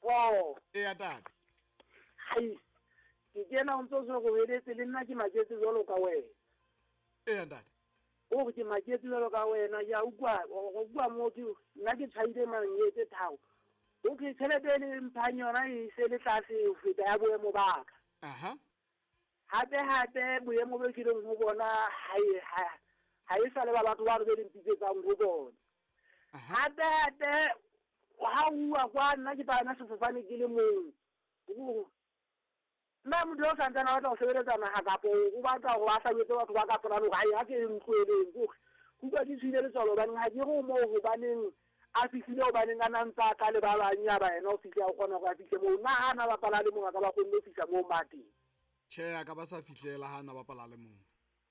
Oh. Eya tate. Hai. Ke kena o ntso se go heletse le nna ke maketse jwalo ka wena. Eya ntate. O re ke maketse jwalo ka wena ya utlwa go bua mo ke nna ke tshwaile manye tse tharo. Okay, tjhelete e le mphang yona e se le tlase ho feta ya boemo ba ka. Aha. Hape hape boemo bo ke leng ho bona ha e sa le ba batho ba re be le mpitsetsang ho bona. Hape hape ha uwa kwa nna ke palame sefofane ke le mong. Nna motho o santsane a batla ho sebeletsa naha kapo o batla hore a hlabetse batho ba ka polane hore ha ke ntloeleng kore utlwa ke tshwile letswalo hobaneng ha ke re moo hobaneng a fihlile hobaneng a na ntse a tla le ba bang ya ba yena o fihle a kgona hore a fihle moo nna ha na bapala le mong a ka ba kgonne ho fihla moo ma teng. Tjhe, a ka ba sa fihlela ha na bapala le mong.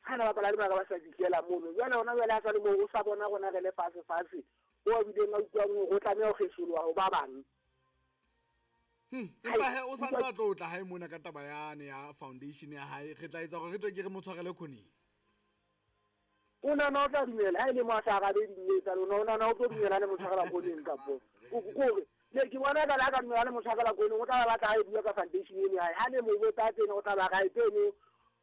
Ha na bapala le mong a ka ba sa fihlela mono. Jwale hona jwale ha sa le moo o sa bona rona re le fatshe fatshe o a bileng a utlwang hore o tlameha ho kgesoloha ho ba bang. Empa he o santse a tlo tla hae mona ka taba yane ya foundation ya hae, re tla etsa hore re tle ke re mo tshwarele khoneng. O nana o tla dumela ha e le mo a sa arabe dimme tsa lona, o nana o tlo dumela le mo tshwarela khoneng kapo kore ne ke bona ka la ka dumela le mo tshwarela khoneng, o tla batla ha e bua ka foundation eno ya hae. Ha ne mo botsa tsena o tla ba ra tseno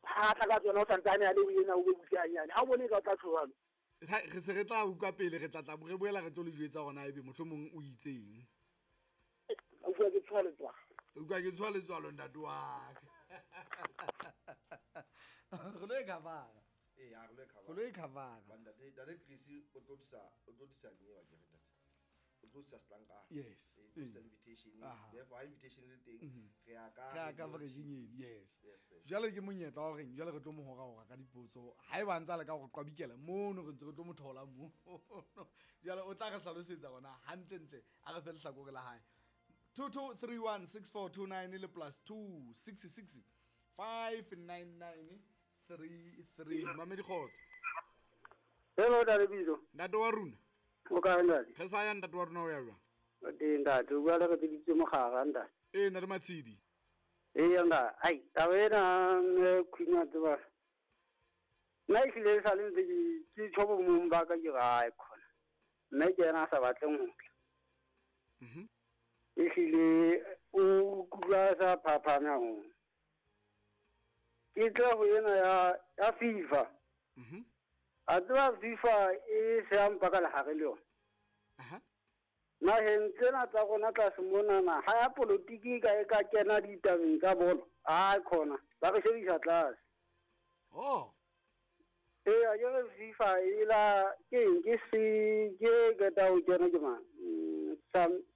ha tla ka tsona o santsane a le ho yena o be butle hanyane. Ha o bone ka o tla tshohalo. Re se re tla utlwa pele, re tla tla re boela re tlo le jwetsa hore na ebe mohlomong o itseng. Utlwa ke tshoha letswalo. Utlwa ke tshoha letswalo ntate wa ka. Re lo e cover-a. Ee, ha re lo e cover-a. Re lo e cover-a. Ba ntate, ntate Chris o tlo tlisa, o tlo tlisa nyewa ke re ntate. O tlo tlisa setlankana. Yes. O tlisa invitation. Therefore, ha invitation le teng, re ya ka Re ya ka radio version team. eno, yes. Yes, sir. Jwale ke monyetla wa hore jwale re tlo mo hora-hora ka dipotso. Haeba a ntse a leka hore qwabikela mono, re ntse re tlo mo thola mono. Jwale o tla re hlalosetsa hore na hantlentle a re fe lehlakore la hae. 22316429 le plus 266 599 33. Mamedi kgotso. Hello, Ntate Bizo. Ntate wa rona. O kae, ntate? Re sa ya ntate wa rona o ya jwang? O teng, ntate. O bua le re biditse mogara, ntate. Ee, ntate Matshidi. Ee, ntate. Ai, taba ena, mme Queen wa tseba. Nna ehlile e sale ntse ke tjho bo mong ba ka ke re, ai, khona. Mme ke yena a sa batleng ho tla. Ehlile o kutlwa sa phaphame haholo. Ke tla ho ena ya FIFA. A tseba FIFA e se ya mpa ka lehare le yona. Naheng tsena tsa rona tlase monana, ha ya politiki e ka kena ditabeng tsa bolo, ai khona, ba re shebisa tlase. Oh. Ee, a ke re FIFA e la, ke eng, ke se, ke qeta ho kena ke mang?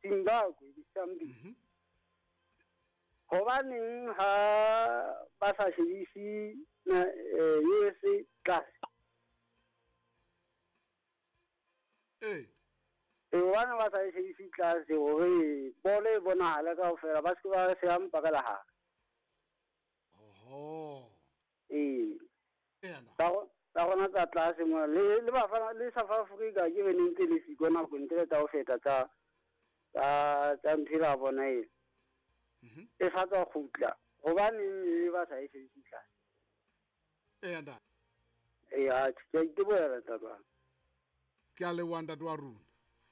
Zimbabwe, ke Zambia. Hobaneng ha ba sa shebise USA tlase? Ee. Ee, hobane ba sa shebise tlase hore bolo e bonahale kaofela, ba se ke ba se ya mpa ka lehare. Oho. Ee. Ee, na. Tsa rona tsa tlase mona, le bafana, le South Africa ke bene ntse le siko nako ntle tsa ho feta tsa ntho ela bona e. E sa tswa kgutla. Hobaneng e ba sa e shebise tlase? Ee, ntate. Ee, atjhe, ke a itebohela, ntate wa ka. Ke a leboha, ntate wa rona.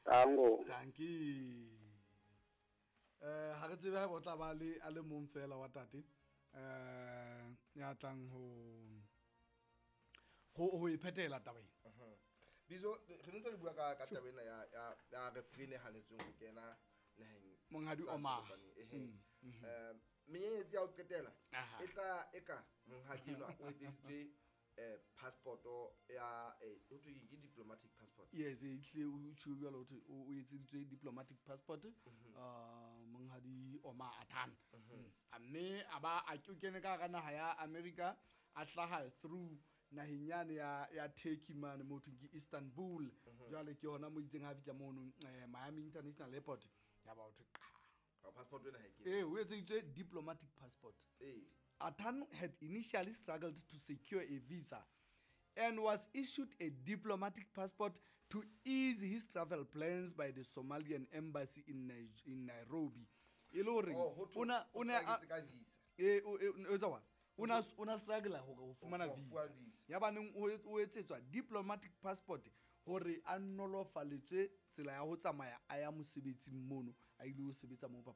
Tango. Dankie. Ha re tsebe haeba o tla ba le a le mong fela wa tate, ya tlang ho e phetela taba ena. Bizo, re ntse re bua ka taba ena ya referee e hanetsweng ho kena naheng. Monghadi Tsa Omar. Kopane, ehe. Menyenyetsi ya ho qetela e tla eka monghadi enwa o etseditswe, passport ya, ho thwe ke diplomatic passport. Yes, e tle o tjho jwalo ho thwe o etseditswe diplomatic passport, monghadi Omar Atan. A mme a ba a ke kene ka hara naha ya America, a hlaha through naheng yane ya Turkey mane mo thweng ke Istanbul. Jwale ke hona mo itseng ha fihla mono, Miami International Airport, ya ba ho thwe qha. Ka passport ena ha e kene. Ee, o etseditswe diplomatic passport. Ee. Atan had initially struggled to secure a visa and was issued a diplomatic passport to ease his travel plans by the Somalian embassy in Nairobi. E le hore Oh, ho thwe o o na a struggle ka visa. E, o, e, o etsa what? O na, o na struggle hore ho fumana Ho fuwa visa. visa. Ya baneng o etsetswa diplomatic passport hore a nolofaletswe tsela ya ho tsamaya a ya mosebetsing mono, a ile ho sebetsa moo papadi.